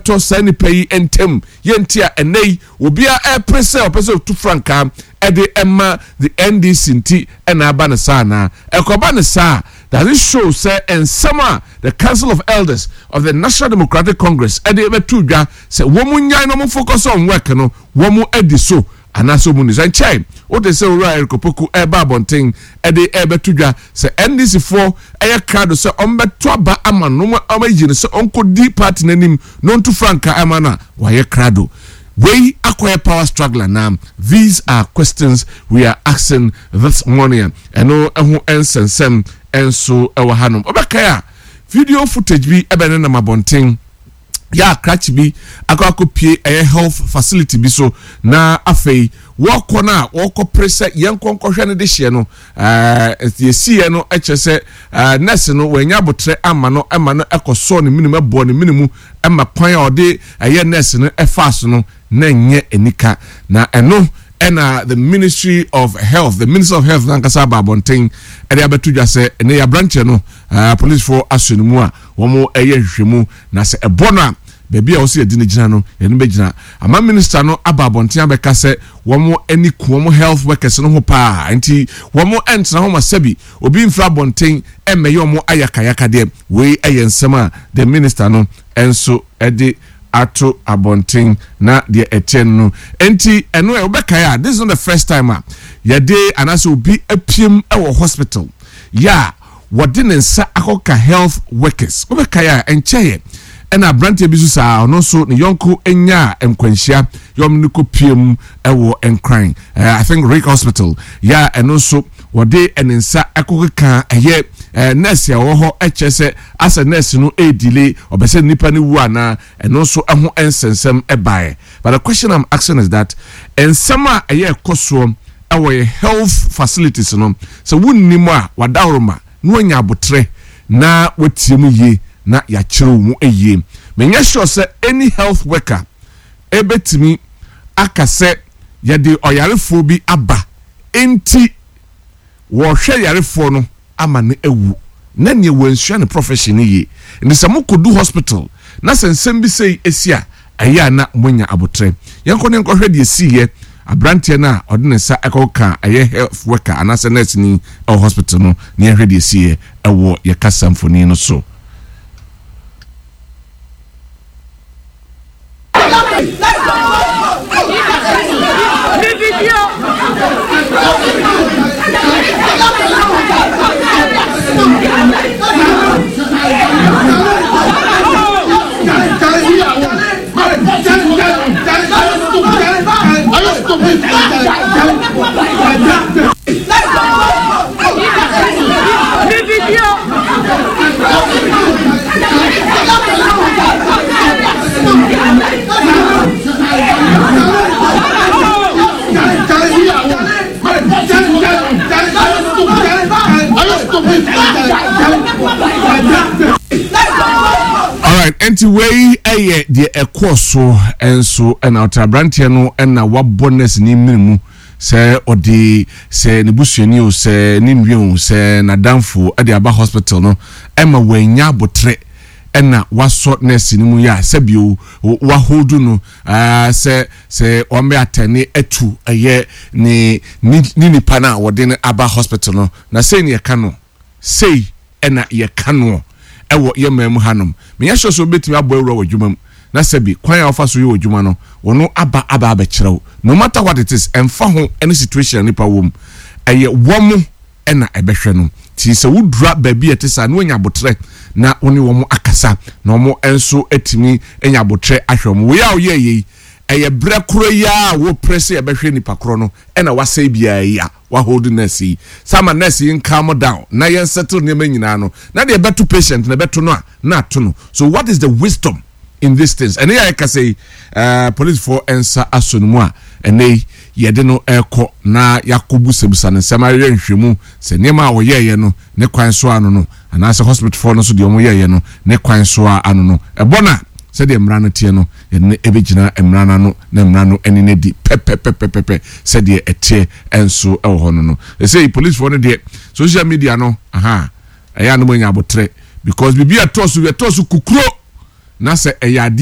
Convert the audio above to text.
Tɔ saa nnipa yi ntam. Yɛ nti a ɛnnɛ yi obiara repere sɛ ɔpɛ sɛ ɔtu frankaa de ma the NDC nti na aba no saa anaa? Ɛkɔba no saa a, does it show sɛ nsɛm a the Council of Elders of the National Democratic Congress de bɛto dwa sɛ wɔn nnyae na wɔn focus on work no wɔn adi so anaasɛ wɔn nni so? Ɛnkyɛe wote sɛ Owura Eric Opoku reba abɔnten de rebɛto dwa sɛ NDC foɔ yɛ krado sɛ wɔbɛto aba ama no na wɔayi no sɛ ɔnkɔdi party no anim na ɔntu frankaa ma no a, wayɛ krado. Wei akɔyɛ power struggle anaa? These are questions we are asking this morning a ɛno ho nsɛnsɛm nso wɔ hanom. Wobɛkae a, video footage bi bɛnenam abɔnten yɛ a krakye bi akɔ akɔpie ɛyɛ health facility bi so na afei wɔkɔ no a wɔkɔpere sɛ yɛnkɔ nkɔhwɛ no de hyeɛ no ɛɛ yɛsiiɛ no kyerɛ sɛ ɛɛ nurse no wɔanya abotrɛ ama no ɛma no ɛkɔsɔɔ ne menem ɛbɔɔ ne mene mu ɛma kwan a ɔde ɛyɛ nurse no ɛfaa so no na ɛnyɛ anika na ɛno ɛna the ministry of health the minister of health nankasa aba abɔnten ɛde abɛto dwa sɛ ɛnɛ yɛ aberanteɛ no ɛɛ polisifoɔ asɔ ne mu a wɔn ɛyɛ nhwehwɛmu Na sɛ ɛbɔ no a, baabi a ɛwɔ sɛ yɛde no gyina no, yɛde no bɛgyina. Ama minister no aba abɔnten abɛka sɛ wɔn ani ku wɔn health workers no ho paa, nti wɔn ntena hɔ ma sɛbi obi mfiri abɔnten mmɛyɛ wɔn ayakayakadeɛ. Wei yɛ nsɛm a the minister no nso de ato abɔnten na deɛ ɛteɛ no no. Nti ɛno ɛ, wobɛkae a, this is not the first time a yɛde anaasɛ obi apiem wɔ hospital yɛ a wɔde ne nsa akɔka health workers. Wobɛkae a, ɛnkyɛeɛ ɛna aberanteɛ bi nso saa, ɔno nso ne yɔnko nyaa nkwanhyia yɛ wɔn no kɔpie mu wɔ Nkran, eh, I think Rick Hospital, yɛ a ɛno nso wɔde ne nsa ɛkɔkeka ɛyɛ eh, nurse a ɔwɔ hɔ ɛkyerɛ sɛ asɛ nurse no ɛredile ɔbɛ sɛ nipa no wu anaa ɛno nso ɛho nsɛnsɛm ɛbaeɛ. But the question I'm asking is that nsɛm a ɛyɛ ɛkɔ soɔ ɛwɔ yɛ health facilities no sɛ wonnim a wadaworoma na wanya aboterɛ na watie mu yie na yɛakyerɛ wo mu yie. Menyɛ sure sɛ any health worker ɛbɛtumi aka sɛ yɛde ɔyarefoɔ bi aba nti wɔrehwɛ yarefoɔ no ama no awu na neɛ wansua ne profession no yie. Nti sɛ mokɔdu hospital na sɛ nsɛm bi sei si a, ɛyɛ a na moanya aboterɛ. Yɛnkɔ ne nkɔhwɛ deɛ ɛsiiɛ aberanteɛ no a ɔde ne nsa kɔkaa ɛyɛ health worker anaasɛ nurse ni wɔ hospital no na yɛnhwɛ deɛ ɛsiiɛ wɔ yɛ kasa mfoni no so. Alright, nti wei yɛ deɛ ɛkɔɔ so nso ɛna ɔte aberanteɛ no ɛna wabɔ nurse ne mmiri mu sɛ ɔde sɛ ne busuani o sɛ ne nua o sɛ n'adamfo ɛde aba hospital no ɛma wɔanya abotrɛ ɛna wasɔ nurse no mu yɛ a sɛbio waholdu no sɛ sɛ wɔn bɛ atɛne atu ɛyɛ ne ne nipa no a wɔde no aba hospital no na sei ne yɛka no sei ɛna yɛka noɔ ɛwɔ yɛ man mu hanom menyɛ sure sɛ wobɛtumi abɔ awura wɔ adwuma mu na sɛbi kwan a wɔfa so yɛ wɔ adwuma no wɔn aba aba abɛkyerɛw no matter what it is ɛmfa ho ɛne situation a nipa wɔ mu ɛyɛ wɔn na ɛbɛhwɛ no. Nti sɛ wodura baabi a ɛte saa na woanya aboterɛ na wo ne wɔn akasa na wɔn nso atumi anya aboterɛ ahwɛ wɔn. Wei a woyɛɛ yei, ɛyɛ berɛ korɔ yi ara a woprɛ sɛ yɛbɛhwɛ nipa korɔ no ɛna wasɛe biara yi a wahold nurse yi. Sɛ ama nurse yi calm down na yɛn settle nneɛma nyinaa no na deɛ ɛbɛto patient na ɛbɛto no a na ato no. So what is the wisdom in these things? Ɛnɛ yi a yɛkasa yi, eh, policefoɔ nsa asɔ no mu a ɛnɛ yi yɛde no rekɔ na yɛakɔbusabusa no nsɛm ayɛ nhwehwɛmu sɛ nneɛma a ɔyɛeɛ no ne kwan so ano no anaasɛ hospitalfoɔ no nso deɛ wɔyɛeɛ no ne kwan so a ano no ɛbɔ no a sɛdeɛ mmara no teɛ no yɛde no ɛbɛgyina mmara no ano na mmara no ɛne no adi pɛpɛpɛpɛpɛ sɛdeɛ ɛteɛ nso ɛwɔ hɔ no no ɛsɛ yi policefoɔ no deɛ social media no aha ɛyɛ a no mo anya abotrɛ because biribi a ɛtɔ so ɛtɔ so kukuro na sɛ ɛyɛ adeɛ.